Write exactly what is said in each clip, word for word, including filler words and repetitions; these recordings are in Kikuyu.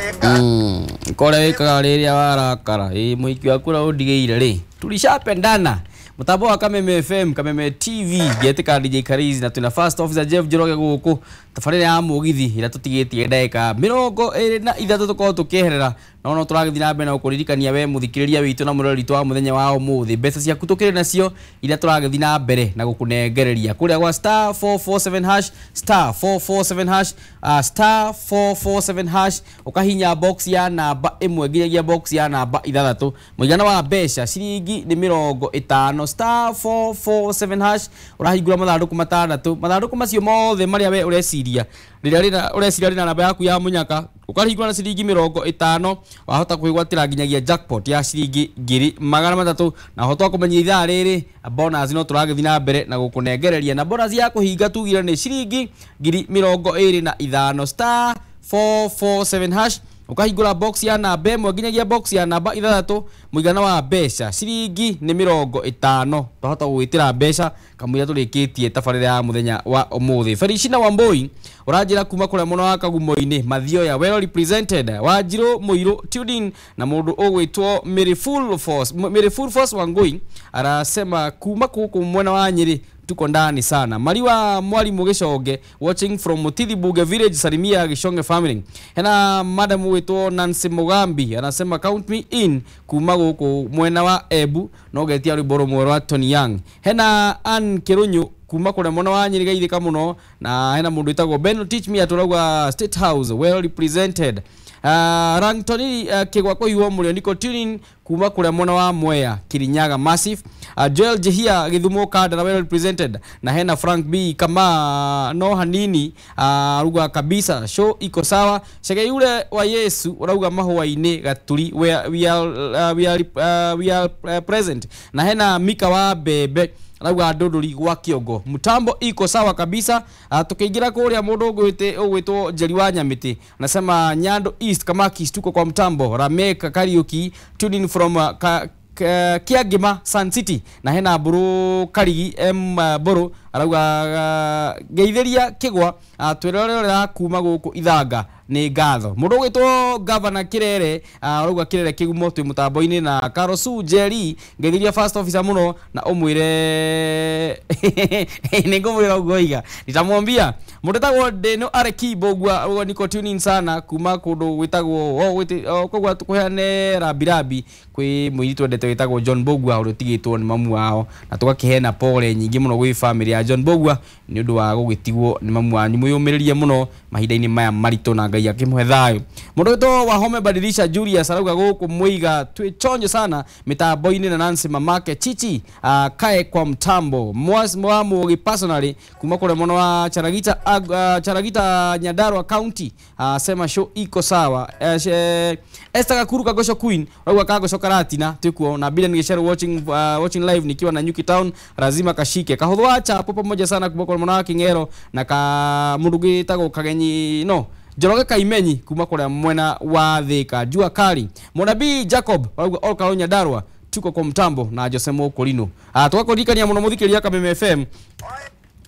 Mm, kore wikaga riria warakara ĩ mũhiki waku ũrĩa ũndigĩire rĩ tulishapendana. Mutambo wa Kameme F M, Kameme T V, ngetika D J Karizi na twina first officer Jeff Njoroge gũkũ tabarĩra ya mũgithi ĩrĩa tũtigĩtie ndagĩka mĩrongo ĩrĩ na ithatũ tũkorwo tũkĩeherera, no no tũragĩthiĩ na mbere na gũkũririkania we mũthikĩrĩria witũ na mũrori witũ wa mũthenya wa ũmũthĩ, mbeca ciaku tũkĩrĩ nacio iria tũragĩthiĩ na mbere na gũkũnengereria kũrĩa gwa star four four seven hash, star four four seven hash, uh, star four four seven hash, ũkahinya box ya namba ĩmwe nginyagia box ya namba ithathatũ, mũigana wa mbeca ciringi nĩ mĩrongo ĩtano, star four four seven hash, ũrahingũra mathandũkũ matandatũ, mathandũkũ macio mothe marĩa we ũreciria rĩrĩa rĩna ũreciria rĩna namba yaku ya mũnyaka ũkarihingũra na ciringi mĩrongo ĩtano, wahota kwĩgwatĩra nginyagia jackpot ya ciringi ngiri magana matatũ, na ũhota wa kũmenya ithaa rĩrĩ bonus no tũragĩthiĩ na mbere na gũkũnengereria, na bonus ya kũhinga tugire nĩ ciringi ngiri mĩrongo ĩrĩ na ithano, star four four seven hash, ukahingũra box ya namba ĩmwe nginyagia box ya namba ithathatũ, mũigana wa mbeca ciringi nĩ mĩrongo ĩtano, twahota gũgwĩtĩra mbeca kamũira tũrĩkĩtie tabarĩra ya mũthenya wa ũmũthĩ. Felicina Wambui ũranjĩra kuma kũrĩa mũno wa Kagumo-inĩ, Mathioya well represented, Wanjirũ Mũirũ tuned in, na mũndũ ũgwĩtwo Mary Full Force, Mary Full Force Wangui arasema kuma gũkũ mwena wa Nyĩrĩ tuko ndani sana. Mariwa Mwalimu Gĩconge watching from Mutithi Buge Village, salimia Gĩconge family. Hena madam witwo Nancy Mugambi anasema count me in kuma gũkũ mwena wa Embu, no getia rwĩmbo rũmwe rwa Tony Young. Hena Ann Kĩrũnyũ kuma kũrĩa mwena wa Nyĩrĩ geithĩka mũno, na hena mũndũ wĩtagwo Ben Teach Me atũrauga State House well represented. Uh, Rangtoni uh, Kĩgwa kũiywo mũrĩo niko tuning kuma kũrĩa mwena wa Mwea Kirinyaga Massive. Uh, Joel Jehia Githumo Kandara well represented, na hena Frank B kama no hanini uh, ruga kabisa show iko sawa. Chege yule wa Yesu urauga mahũa-inĩ Gaturi we, we are, uh, we are, uh, we are uh, present, na hena Mika wa Bebe rauga ndũndũri gwa Kĩongo mtambo iko sawa kabisa. Uh, tukiingira kuria mundu ugwite ugwitwo Njeri wa Nyamiti anasema Nyando East Kamaki tuko kwa mtambo. Rameka Kariuki tuning in from uh, ka, Kiagima Sun City, na hena Mburu Karigi M uh, Mburu arauga uh, ngeithiria Kĩgwa uh, twĩrorera kuma gũkũ Ithanga nĩ ngatho. Mũndũ ũgwĩtwo Governor Kĩrere uh, arauga Kĩrere Kĩgumo twĩ mũtambo-inĩ, na Karosu Njeri ngeithiria first officer mũno na ũmwĩre nĩ ngũmwĩra ũguo iga nitamwambia. Mũndũ wĩtagwo Deno Arekibo ũguo niko tune in sana kuma kũndũ gwĩtagwo koguo tũkũheane rabirabi kwĩ mũirĩtu wendete wĩtagwo John Mbugua ũrĩa ũtigĩtwo nĩ mamu wao, na tũgakĩheana pole nyingĩ mũno gwĩ family ya John Mbugua nĩ ũndũ wa gũgĩtigwo nĩ mamu wanyu. Mwĩyũmĩrĩrie mũno mahinda-inĩ maya maritũ na Ngai akĩmũhe thayũ. Mũndũ wĩtwo Wahome Badilisha Julius arauga gũkũ Mũiga twĩ chonjo sana mĩtambo-inĩ, na Nancy mamake Chichi uh, kae kwa mtambo Mwas Mwamugi personally kuma kũrĩa mũno wa Charagita uh, Charagita Nyandarua County uh, sema show iko sawa. Uh, she, Esther Gakuru Kagosho Queen arauga Kagosho Karatina twĩkuo na Bilen Gĩceru watching, uh, watching live nikiwa na Nyuki Town lazima kashike kahũthũ wa chapo pamoja sana kuma kũrĩa mũno wa King'ero na ka mũndũ gĩtagwo Kagenyi no Njoroge Kaimenyi kuma kũrĩa mwena wa Thika Jua Kali. Mũnabii Jacob arauga all Karũ Nyandarua tuko kwa mtambo na Jose Mokorino. Ah, tũgakũririkania mũno mũthikĩrĩria Kameme F M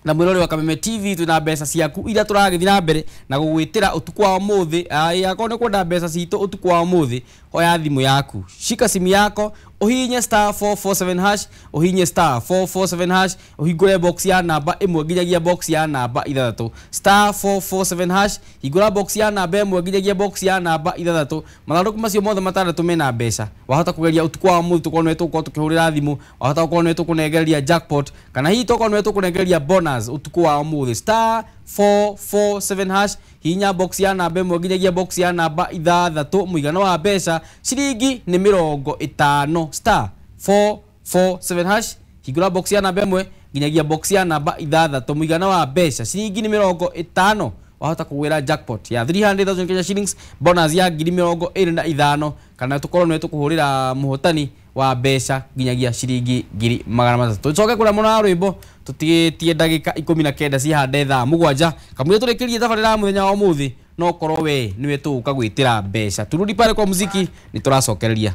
na mwĩrori wa Kameme T V twĩna mbeca ciaku iria tũragĩthiĩ na mbere na gũgwĩtĩra ũtukũ wa ũmũthĩ. Akorwo nĩ kwenda mbeca citũ ũtukũ wa ũmũthĩ, oya thimũ yaku, shika simu yako, uhinye star four four seven hash, uhinye star four four seven hash, uhingũre box ya namba ĩmwe nginyagia box ya namba ithathatũ, star four four seven hash, hingũra box ya namba ĩmwe nginyagia box ya namba ithathatũ. Mathandũkũ macio mothe matandatũ mena mbeca. Wahota kũgeria ũtukũ wa ũmũthĩ tũkorwo nĩwe tũgũkorwo tũkĩhũrĩra thimũ, wahota gũkorwo nĩwe tũkũnengereria jackpot, kana hihi tũkorwo nĩwe tũkũnengereria bonus ũtukũ wa ũmũthĩ. Star four four seven hash, hihinya box ya namba ĩmwe nginyagia box ya namba ithathatũ, mũigana wa mbeca ciringi nĩ mĩrongo ĩtano, star four four seven hash, hingũra box ya namba ĩmwe nginyagia box ya namba ithathatũ, mũigana wa mbeca ciringi nĩ mĩrongo ĩtano. Wahota kũgwĩra jackpot ya three hundred thousand Kenya shillings, bonus ya ngiri mĩrongo ĩrĩ na ithano, kana tũkorwo nĩwe tũkũhũrĩra mũhotani wa mbeca nginyagia ciringi ngiri magana matatũ. Tũcoke kũrĩa mũno wa rwĩmbo tũtigĩtie ndagĩka ikũmi na kenda cihande thaa mũgwanja kamũira tũrĩkĩrie tabarĩra ya mũthenya wa ũmũthĩ, no korwo we nĩwe tũgũka gwĩtĩra mbeca. Turudi pale kwa muziki nĩ tũracokereria.